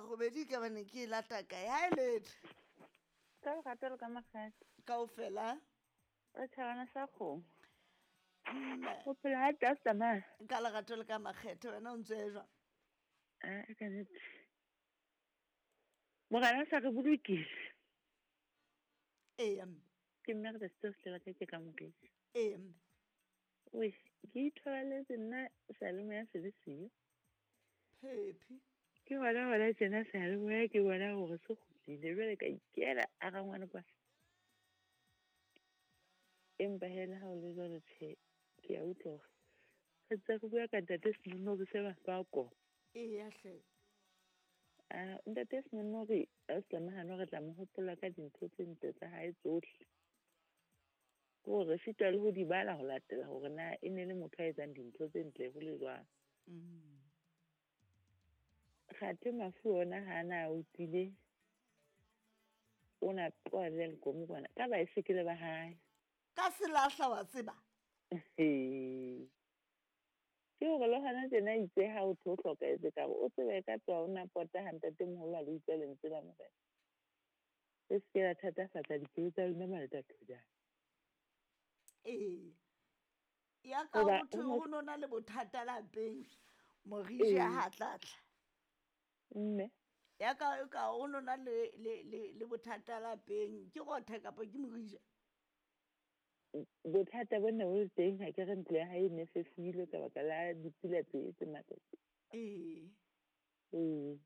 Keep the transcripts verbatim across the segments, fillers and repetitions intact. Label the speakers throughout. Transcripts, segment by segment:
Speaker 1: Robedi ka bane ke e lata kae? Ha e letho.
Speaker 2: Ka lerato le ka makgethe.
Speaker 1: Kaofela.
Speaker 2: Re tjhabana sa kgomo. O phela ha tla tsamaya.
Speaker 1: Ka lerato le ka makgethe wena o ntse e jwang?
Speaker 2: Ah, ka nnete. Morena sa re bolokile.
Speaker 1: Eya mme.
Speaker 2: Ke mme re tla se ka ke ka morisi.
Speaker 1: Eya mme.
Speaker 2: Oi, ke ithobaletse nna seyalemoya se le siyo.
Speaker 1: Phephi.
Speaker 2: Ke hona hona tjena seyalemoya ke bona hore se kgutlile jwale ka ikela a rangwane kwa. Empa he le ha o le jwalo tjhe, ke a utlwa hore re ntse re bua ka ntate Senonori se mahlo a koma.
Speaker 1: Eya hle.
Speaker 2: Ah, ntate Senonori a se tlamehane re tla mo hopola ka dintho tse ntle tsa hae tsohle. Ke hore re sitwa le ho di bala ho latela hore na e ne le motho a etsang dintho tse ntle ho le jwang.
Speaker 1: Mm.
Speaker 2: Kgathe mafu ona ha na utlwile o na tloha le lekomo kwana ka baesekele ba hae.
Speaker 1: Ka selahla wa tseba.
Speaker 2: Ke hore le hona tjena itse ha o tho hlokahetse ka o tsebe ka tloha o na pota ha ntatemoholo a le utlwa lentswe la Morena. Le se ke la thatafatsa dipelo tsa lona malatathojana.
Speaker 1: Ee. Ya ka
Speaker 2: Hoba
Speaker 1: ho thwe
Speaker 2: ho
Speaker 1: ho nona le bothata lapeng, moriji
Speaker 2: Ee.
Speaker 1: ha tlatla.
Speaker 2: Mme.
Speaker 1: Ya ka ka ho nona le le le le bothata lapeng, ke rothe kapa ke morija?
Speaker 2: Bothata bona bo le teng ha ke re ntlo ya hae e ne fefohile ka baka la dipula tse tse matla.
Speaker 1: Ee.
Speaker 2: Ee.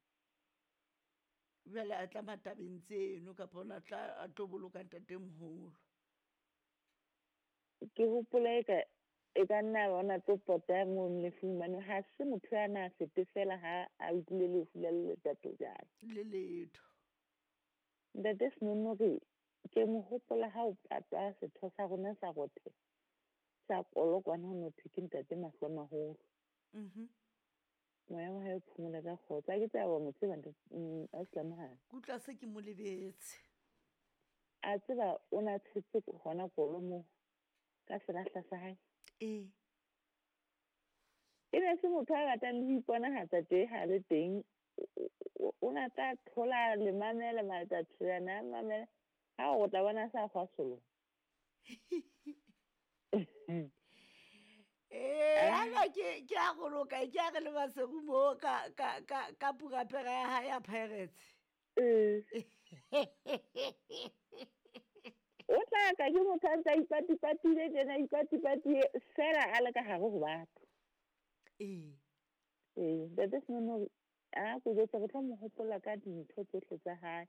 Speaker 1: Jwale a tla matabeng tseno kapa ona tla a tlo boloka ntatemoholo.
Speaker 2: Ke hopola eka e ka nna ba ona tlo pota mono lefung hobane ha se motho ya na fete fela ha a utlwile lefu la letatojana.
Speaker 1: Le letho.
Speaker 2: Ntate Senonori ke mo hopola ha o patwa setho sa rona sa rothe sa kolokwana ho no thwe ke ntate mahlo a maholo.
Speaker 1: Mhm.
Speaker 2: Moya wa hae o phomole ka kgotso. Ha ke tseba wa mo tseba ntate, mm, a se tlamehang.
Speaker 1: Ke utlwa se ke mo lebetse.
Speaker 2: A tseba o na tshetse hona kolo moo ka selahla sa hae.
Speaker 1: Ee.
Speaker 2: E ne se motho a ratang le ho iponahatsa tje ha le teng. O, o na tla thola le mamela matatshana a mamela. Ha o tla bona sa kgwasolo.
Speaker 1: Ee, ana ke ke a goloka ke a re le Maseru mo ka ka ka ka purapera ya hae ya Pirates.
Speaker 2: Ee. O tla ka ke motho a ntse a ipatipatile tjena, a ipatipatile fela a le ka hare ho batho.
Speaker 1: Ee.
Speaker 2: Ee, ntate Senonori a ko jwetsa re tlo mo hopola ka dintho tsohle tsa hae.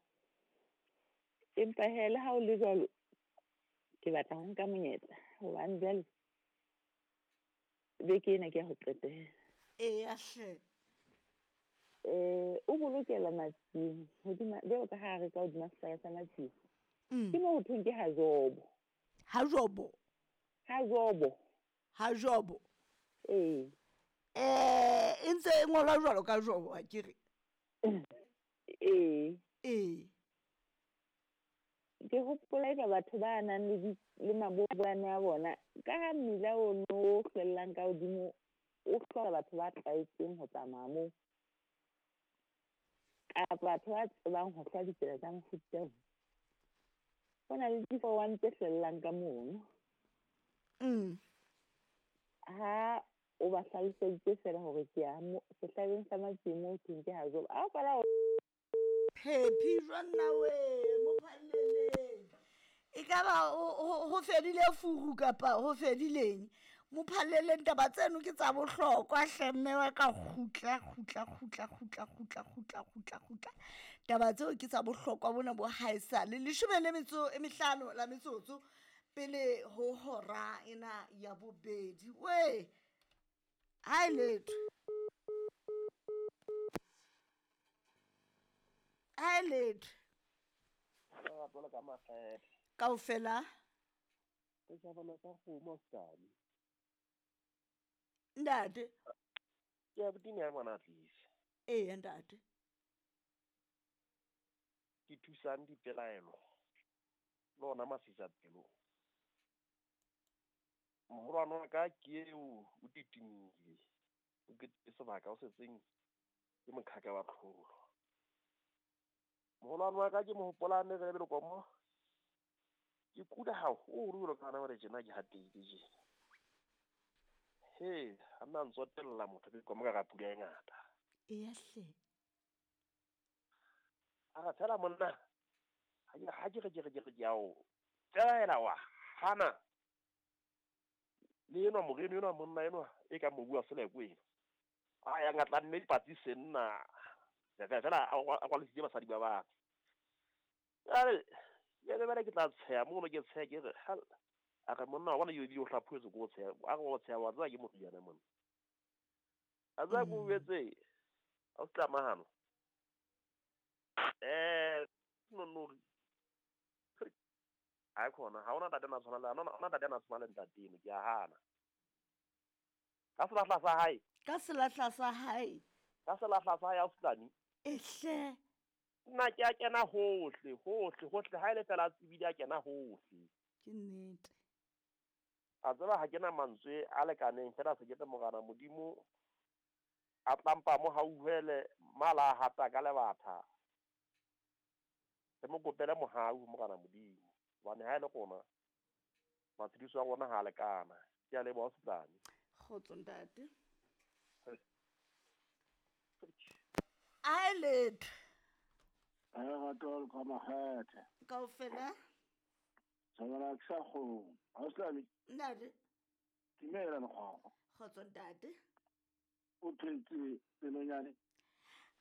Speaker 2: Empa he le ha o le jwalo, ke batla ho nka monyetla hobane jwale beke ena ke ya ho qetela.
Speaker 1: Eya hle.
Speaker 2: Eh, o bolokela Matsieng hodima, jwalo ka ha re ka hodima sehlare sa Matsieng.
Speaker 1: Mm.
Speaker 2: Ke moo ho thweng ke ha Jobo.
Speaker 1: Ha Jobo?
Speaker 2: Ha Jobo.
Speaker 1: Ha Jobo.
Speaker 2: Ee.
Speaker 1: Eh, e ntse e ngolwa jwalo ka Jobo, ha ke re?
Speaker 2: Ee.
Speaker 1: Ee.
Speaker 2: Ke hopola eka batho ba nang le di, le maboboane a bona, ka ha mmila ono o hlwellang ka hodimo, o hloka batho ba tlwaetseng ho tsamaya moo. Kapa batho ba tsebang ho hlwa ditsela tsa mofuta oo. Ho na le di-four one tse hlwellang ka mono.
Speaker 1: Mm.
Speaker 2: Ha o ba hlaloseditse feela hore ke ya mo, sehlabeng sa Matsieng moo ho thweng ke ha Jobo. Ha o qala ho
Speaker 1: Phephi jwang nna we, mo phalleleng. Ekaba ho, ho, ho fedile furu kapa ho fedileng? Mo phalleleng taba tseno ke tsa bohlokwa hle mme wa ka kgutla, kgutla, kgutla, kgutla, kgutla, kgutla, kgutla, kgutla. Taba tseo ke tsa bohlokwa bona bo haesale. Leshome le metso e mehlano la metsotso pele ho hora ena ya bobedi. We, ha e letho. Ha e letho.
Speaker 3: Lerato le ka makgethe.
Speaker 1: Kaofela.
Speaker 3: Ke tjhabana sa kgomo ausi.
Speaker 1: Ntate.
Speaker 3: Ke a botini ya ngwana tlisa.
Speaker 1: Ee, ntate.
Speaker 3: Ke thusang dipelaelo. Le ona masisapelo. Moholwane wa ka ke eo o titimile. O ke sebaka o setseng ke moqhaka wa tlholo. Moholwane wa ka ke mo hopolane re le komo. Ke kula haholo jwalo ka hana hore tjena ke hatehile tjena. He, ha nna ntsotella motho ke komo ka ra pula e ngata.
Speaker 1: Eya hle.
Speaker 3: A re fela monna. Ha ke ha ke re ke re ke re ke ao. Fela wa hana. Le enwa moreno enwa monna enwa e ka mobu wa Selekwe. A ya ngatla nne dipatsi senna. Fela fela a kwalesitse basadi ba batho. Jwale jwale bana ke tla tsheha mono ke tsheha ke re hal a re monna wa bona yo o hlaphohetswe ko tsheha a re o tsheha wa tseba ke moriana monna. A tseba ko betse a o tlamahano. Eh no no a khona ha ona ntate na tshwana le ona ona ntate na tshwana le ntate eno ke a hana. Ka selahla sa hae.
Speaker 1: Ka selahla sa hae.
Speaker 3: Ka selahla sa hae a Fulani.
Speaker 1: Ehle.
Speaker 3: Nna ke a kena hohle hohle hohle ha ile fela tsebile a kena hohle.
Speaker 1: Ke nnete.
Speaker 3: A tseba ha kena mantswe a lekaneng fela se ke te morana Modimo a tlampa mo hauhele mala hata ka lebatha. Re mo kopele mohau morana Modimo. Hobane ha ile rona matshediso a rona ha lekana. Ke a leboha Fulani.
Speaker 1: Kgotso ntate. A letho.
Speaker 4: Lerato ka makgethe.
Speaker 1: Kaofela.
Speaker 4: Tsabana ke sa kgone. Ha o Slami?
Speaker 1: Ntate.
Speaker 4: Dumela lekgwakgwa.
Speaker 1: Kgotso ntate.
Speaker 4: O phetse pelonyane.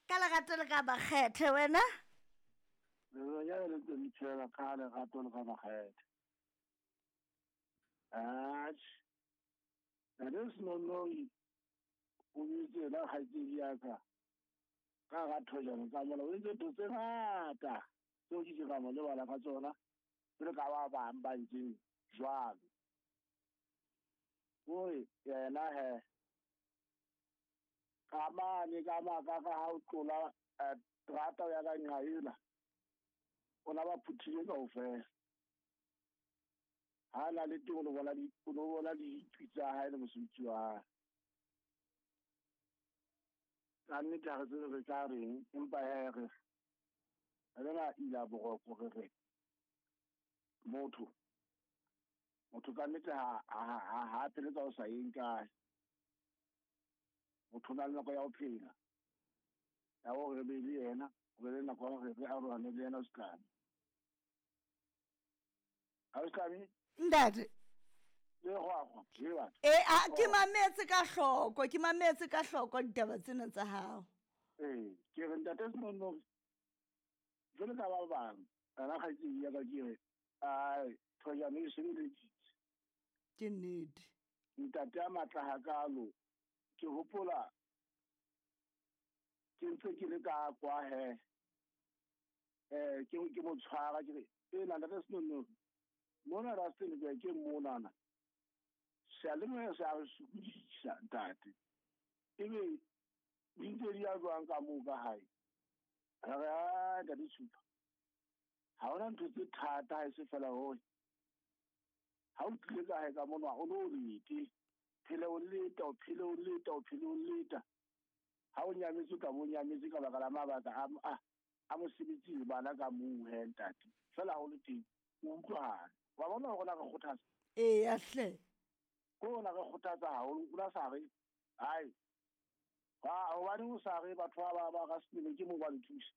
Speaker 1: Ka lerato le ka makgethe wena?
Speaker 4: Pelonyane le ntse le phela ka lerato le ka makgethe. Atjhe. Ntate Senonori o bitse la kgaitsedi ya ka. Ka ga thojana tsa mola o entse ntho tse ngata tseo ke ke ka mo lebala ka tsona jwalo ka ba bang ba ntseng jwalo. Ore yena he ka mane ka maka ka ha o tlola terata ya ka nqa ela o na ba phuthile kaofela. Ha na le teng o lo bona di o lo bona ditwi tsa hae le mosebetsi wa hae. Ka nnete ha re tsebe re tla reng empa he re re na ila boroko re re motho motho ka nnete ha ha ha phele ka o sa yeng kae. Motho o na le nako ya ho phela ya hore re be le yena ho be le nako ya hore re arohane le yena Slami. Ha o Slami?
Speaker 1: Ntate.
Speaker 4: E
Speaker 1: a ke mametse ka hloko ke mametse ka hloko ditaba tsena tsa hao.
Speaker 4: Eh ke re ntate Senonori jwalo ka ba bang ana kgaitsedi ya ka ke re ai thojana e sebeleditse.
Speaker 1: Ke nnete.
Speaker 4: Ntate a matla hakalo ke hopola ke ntse ke le ka kwa he eh ke ke mo tshwara ke re e na ntate Senonori mona Rustenburg ke monana seyalemoya se a re sokodisa ntate ebe di ntse di ya jwang ka moo ka hae. Re re a ntate Tshupa ha hona ntho tse thata ha e se fela hore ha o tlile ka hae ka mona o lo lete phele o leta o phele o leta o phele o leta ha o nyametse ka bo nyametse ka baka la mabaka a a a mosebetsi le bana ka moo he ntate fela ha o le teng o utlwahale wa bona hore na re kgothatsa.
Speaker 1: Eya hle.
Speaker 4: Ko na re kgothatsa haholo o la sa re hai ha hobane o sa re batho ba ba ba Rustenburg ke mo ba nthusa.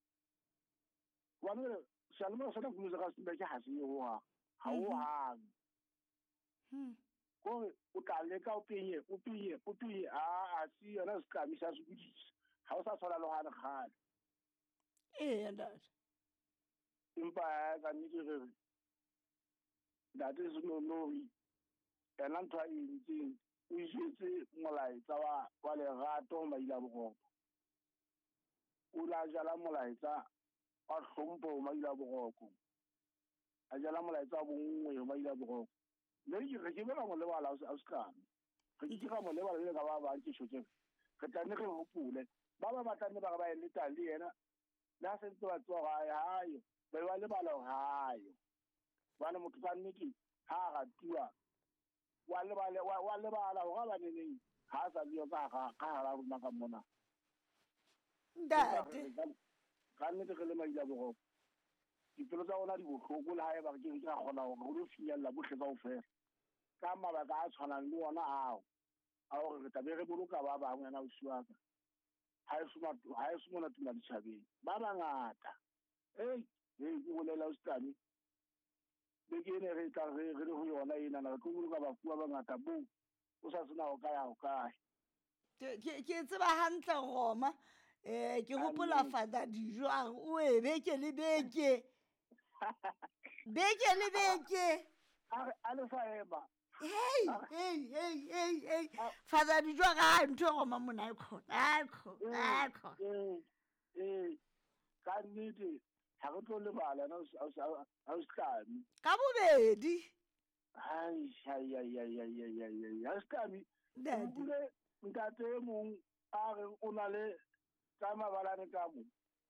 Speaker 4: Hobane seyalemoya sena kulo sa Rustenburg ha se ho ha ha o hang.
Speaker 1: Hmm.
Speaker 4: Kore o tla leka o penye o penye o penye a a si yona setlami sa sokodisa ha o sa tshwana le hane kgale.
Speaker 1: Eya ntate.
Speaker 4: Empa ka nnete re re ntate Senonori yena ntho a e entseng o jetse molaetsa wa wa lerato ho Maila Boroko. O la jala molaetsa wa hlompho ho Maila Boroko. A jala molaetsa wa bonngwe ho Maila Boroko. Mme ke re ke bona mo lebala a Slami. Re ke ka mo lebala le ka ba bang ke tjho tje. Re tla nne re hopole ba ba batla nne ba re ba eleta le yena le ha sentse ba tswa hae hae ba ba lebala hae. Bana motho ka nnete ha ratuwa wa lebala wa lebala hore ba neneng ha sa le ka ga ka ha rona ka mona.
Speaker 1: Ntate
Speaker 4: ka nnete re le Maila Boroko Dipelo tsa rona di bohloko le ha eba re ke ke ra kgona hore re lo finyella bohle kaofela. Ka mabaka a tshwanang le ona ao, a hore re tla be re boloka ba bang wena ausi wa ka. Ha eso ha eso mona tumela ditjhabeng. Ba bangata. Ei, ei, ke bolela ausi Tlame. Beke ena re tla re re le ho yona enana, re tlo boloka bafu ba bangata boo o sa tsena ho kae ho kae.
Speaker 1: Ke ke ke tseba hantle Roma. Eh ke hopola Father Dijo a re o e beke le beke. Beke le beke.
Speaker 4: A re a le sa ema.
Speaker 1: Hey, hey, hey, hey, hey. Father Dijo a re ha ntho e Roma mona e khona. A khona, a khona.
Speaker 4: Eh, eh, ka nnete ha re tlo lebala na ausi Tlame.
Speaker 1: Ka bobedi.
Speaker 4: Ai, ai, ai, ai, ai, ai, ai, ai, ausi Tlame.
Speaker 1: Ntate.
Speaker 4: Utlwile ntate e mong a re o na le tsa mabalane ka mo.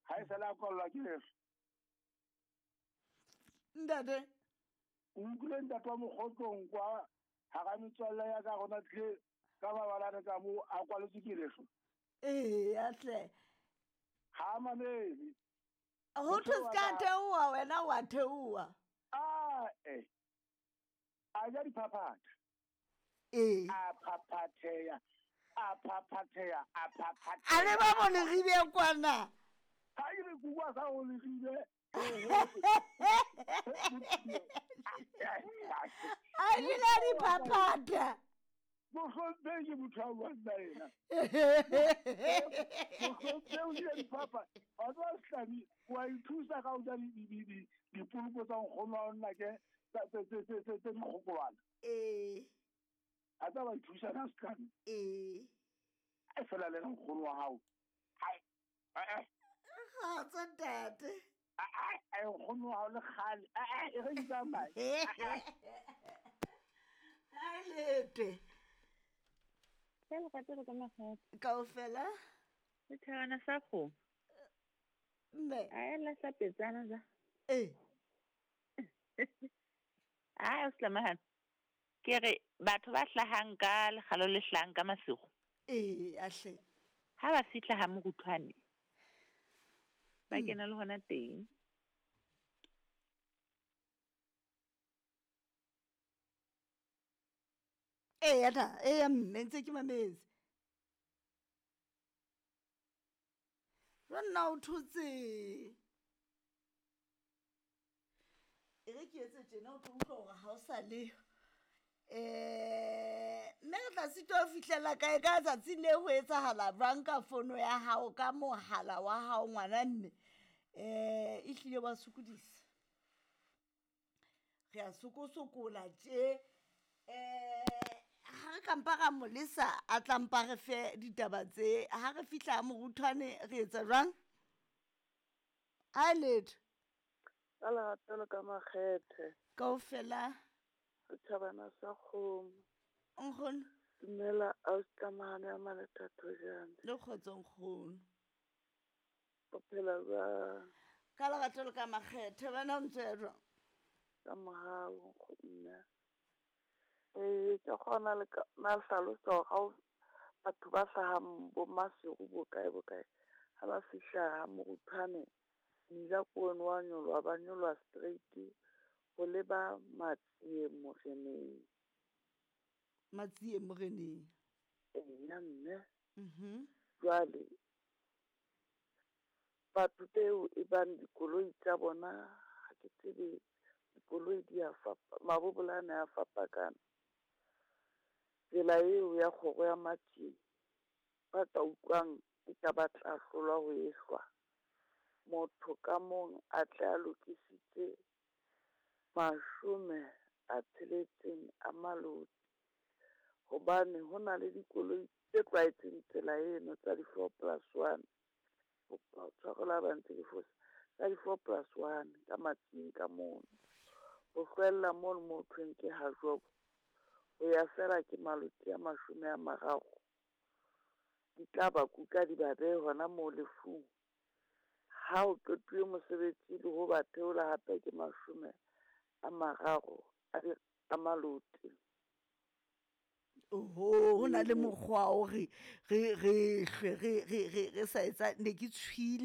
Speaker 4: Ha e sala kwallwa ke lefu.
Speaker 1: Ntate.
Speaker 4: O utlwile ntate wa Mokgotlong kwa hara metswalle ya ka rona tlile ka mabalane ka mo a kwaletswe ke lefu.
Speaker 1: Ee, atle.
Speaker 4: Ha a mamele.
Speaker 1: Ho thwe se ka theoha wena wa theoha.
Speaker 4: Ah, eh. A ja diphaphatha.
Speaker 1: Ee.
Speaker 4: A phaphatheha. A phaphatheha, a phaphatheha.
Speaker 1: A le ba mo leribe kwana.
Speaker 4: Ha ke re kukwa sa ho leribe.
Speaker 1: A jela diphaphatha.
Speaker 4: Mohlomphehi ke motho a buang nna ena. Mohlomphehi o jele diphaphatha. Wa tseba Setlami, wa ithusa ka ho ja dipoloko tsa nkgono wa nna ke tse tse tse tse tse dikgokolwana.
Speaker 1: Ee.
Speaker 4: A tsa wa ithusa ka Setlami.
Speaker 1: Ee.
Speaker 4: E fela le nkgono wa hao. Hai. Eh.
Speaker 1: Ga tsa ntate.
Speaker 4: Eh eh nkgono wa hao le kgale. Eh eh e re itsamaye.
Speaker 1: Hai lete.
Speaker 2: Ka lerato le ka makgethe.
Speaker 1: Kaofela.
Speaker 2: Setjhabana sa kgomo.
Speaker 1: Mme.
Speaker 2: A e lahla petsana ja.
Speaker 1: Ee.
Speaker 2: Ah, ausi Tlamahane. Ke re batho ba hlahang ka lekgalo le hlahang ka masigo.
Speaker 1: Ee, ahle.
Speaker 2: Ha ba fihla ha moruthwane. Ba kena le hona teng.
Speaker 1: Eya ta, eya mme ntse ke mametse. Jwa nna o thotse. E re ke etse tjena o tlo utlwa hore ha o sa le. Eh, mme re tla sitwa ho fihlela kae ka tsatsi le ho etsahala jwang ka fono ya hao ka mohala wa hao ngwana mme. Eh, e hlile wa sokodisa. Re a sokosokola tje. Eh, ha re ka mpa ra mo lesa a tla mpa re fe ditaba tse. Ha re fihla moruthwane re etsa jwang? Ha letho.
Speaker 5: Ka lerato le ka makgethe.
Speaker 1: Kaofela.
Speaker 5: Setjhabana sa kgomo.
Speaker 1: Nkgono.
Speaker 5: Dumela ausi Tlamahane ya Malethathojane.
Speaker 1: Le kgotso nkgono.
Speaker 5: O phela jwang?
Speaker 1: Ka lerato le ka makgethe wena o ntse o ya jwang?
Speaker 5: Ka mohau nkgono. Eh, ke kgona le ka na hlalosa hore ha o batho ba hlahang bo Maseru bo kae bo kae ha ba fihla ha moruthwane mmila ke ono wa nyoloha ba nyoloha straight ho leba Matsie Moreneng.
Speaker 1: Matsie Moreneng.
Speaker 5: Eya mme.
Speaker 1: Mhm.
Speaker 5: Jwale batho beo e bang dikoloi tsa bona ha ke tsebe dikoloi di a fapa mabobolane a fapakana. Tsela eo ya kgoro ya Matsie ba ka utlwang e ka ba tla hlolwa ho ehlwa. Motho ka mong a tle a lokisitse mashome a tsheletseng a maloti. Hobane ho na le dikoloi tse tlwaetseng tsela eno tsa di-four plus one. Kopa tshwarelo ha ba ntse ke fosa. Tsa di-four plus one ka Matsieng ka mono. Ho hlwella mono mo thweng ke ha Jobo. Ho ya fela ke maloti a mashome a mararo. Di tla ba kuka di ba behe hona moo lefung. Ha o qetuwe mosebetsi le ho ba theola hape ke mashome a mararo a di a maloti.
Speaker 1: Oho, ho na le mokgwa o re re re re re re re sa etsa ne ke tshwile.